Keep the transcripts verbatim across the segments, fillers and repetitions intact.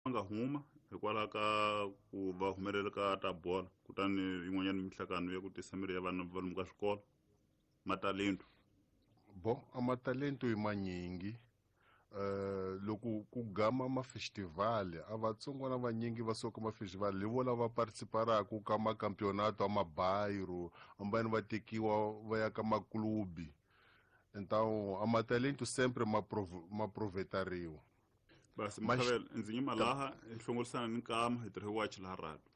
Nga huma hikwalaho ka ku va humelela ka ta bolo, kutani yin'wanyana minhlangano ya ku tisa miri ya vana va lomu ka swikolo matalento. Bon, a matalento i manyingi. uh, loko ku gama mafestival, a vatsongwana vanyingi va suka mafestival hi vo lava participaraku ka makampeonato a mabairro, ambani va tekiwa va ya ka maklubi. Então a matalento sempre ma ma provetariwa. Basi Mkhavela, ndzi nyima laha hi hlongorisana ni nkama hi tirhe wachi laha radio.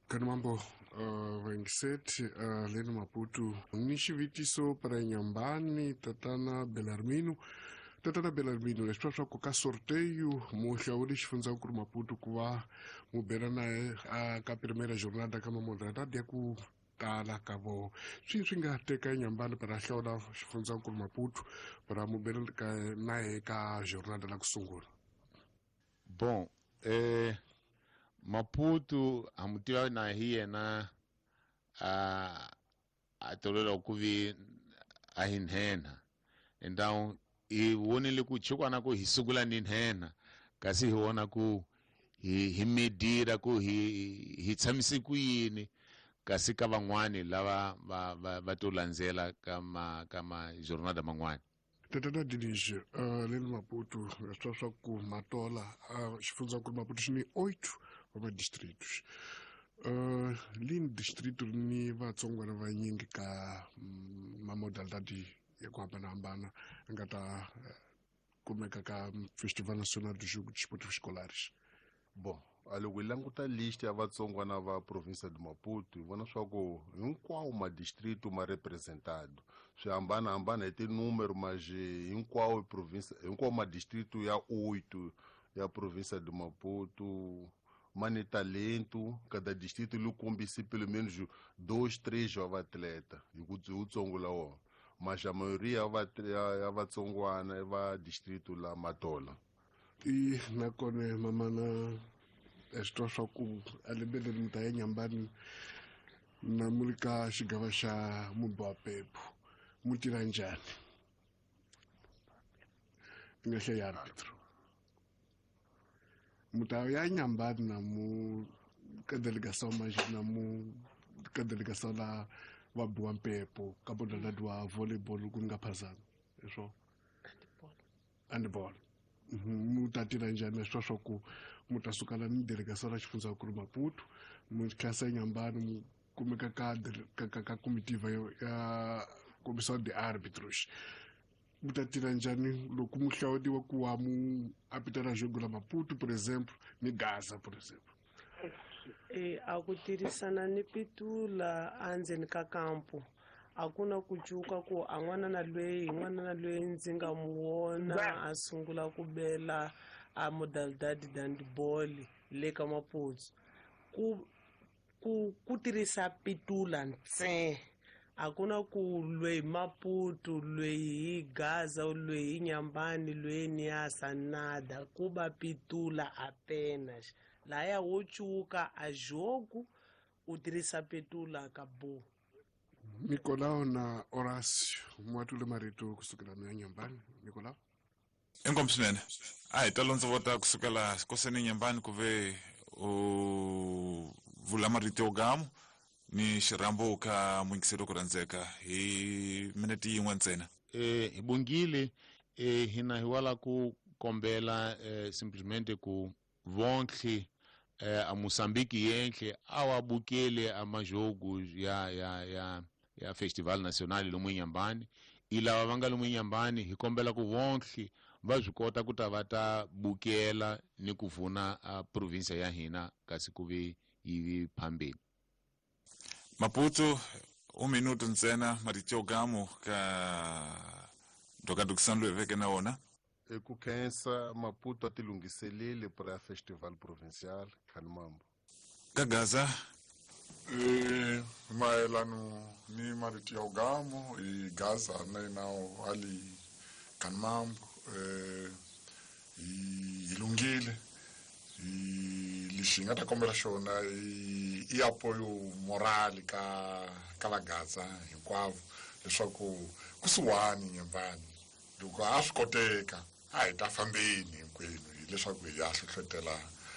Kani mambo uh, vaingiseti uh, leni Maputo ni xivitiso para Nyambani tatana Belarmino. Tatana Belarmino, leswi swa ku ka sorteio mu hlawuli xifundzankulu Maputo ku va mu bela naye a ka primeira jornada ka mamodalidade ya ku tala ka vo swi swi nga teka Nyambani para hlawula xifundzankulu Maputo para mu bela naye ka jornada la ku sungula? Bon, eh, Maputo hamutiva na hi yena a a tolela ku vi a hi nhenha. Então hi vonile ku chikwana ku hi sungula ni nhenha, kasi hi vona ku hi hi medira ku hi hi tshamise ku yini kasi ka van'wani lava va va va to landzela ka ma ka ma jornada man'wani. Tatana Dinizio, uh, leni Maputo, swa swa ku Matola, uh, xifundzankulu Maputo xi ni oito wa madistritos. Uh, lini distrito ni vatsongwana vanyingi ka mm, mamodalidade ya ku hambanahambana a nga ta uh, kumeka ka Festival Nacional do Jogo de Desportivos Escolares? Bon, a loko hi languta list ya vatsongwana va provinsia de Maputo, hi vona swa ku hinkwawo madistrito ma representado. Swi hambanahambana hi tinúmero, mas hinkwawo provinsia, hinkwawo madistrito ya oito ya provinsia de Maputo ma ni talento. Cada distrito li kombise pelo menos dois, três jovens atleta hi ku hi wutsongo la wona, mas a maioria ya ya vatsongwana i va distrito la Matola. I nakona mamana swi twa swa ku a lembe leri mi ta ya Nyambani na mu ri ka xigava xa mumbi wa pepo, mu tirha njhani i nga hlaya arbitro mu ta ya Nyambani na mu ka delegação, mas na mu ka delegação la va biwa mpepo ka modalidade wa volleyball ku nga phazana leswo handball, mu ta tirha njhani na swa swa ku mu ta suka la ni delegação la xifundzankulu Maputo, mu tlhasa Nyambani, mu kumeka ka ka ka ka comitiva ya comissão de árbitros? Mu ta tirha njhani loko mu hlawuriwa ku wa mu apitela jogo la Maputo, por exemplo, ni Gaza, por exemplo? E a ku tirhisana ni pitula endzeni ka kampo, a ku na ku cuka ku a n'wana na lweyi n'wana na lweyi ndzi nga mu vona a sungula ku bela a modalidade handball le ka Maputo, ku ku ku tirhisa pitula ntsena. A ku na ku lweyi Maputo, lweyi hi Gaza, lweyi hi Nyambani, lweyi Niasa, nada, ku va pitula apenas. Laya wo cuka a jogo u tirhisa petula, acabou. Nicolau na Horácio, mwatule marito kusukela na Nyambani. Nicolau. Inkomu swinene. A hi talo ndzi vota kusukela koseni Nyambani ku ve u vula marito yo gamu ni xirhambo ka muyingiseri ku rhandzeka hi minete yin'we ntsena. eh hi bongile. eh hina hi wala ku kombela eh, simplesmente ku vonhle eh, a Moçambique yenhle awabukele amajogo ya ya ya ya Festival Nacional lomu Nyambani. I lava va nga lomu Nyambani, hi kombela ku vonhle va swi kota ku ta va ta bukela ni ku vuna a provinsia ya hina kasi ku vi yi vi phambeni. Maputo, un minuto ntsena, marito yo gamu ka ndokandukisano loyi veke na wona. I ku khensa. Maputo a ti lunghiseleli para festival provincial. Khanimambo. Ka Gaza. E mayelano ni marito ya ugamo i Gaza na inawo ali Kanmambo, eh hi lunghile. Hi lexi hi nga ta kombela xona i i apoyo moral ka ka va Gaza hinkwavo, leswaku kusuhani Nyambani loko a swi koteka a hi ta fambeni hinkwenu hileswaku hi ya hlohlotela.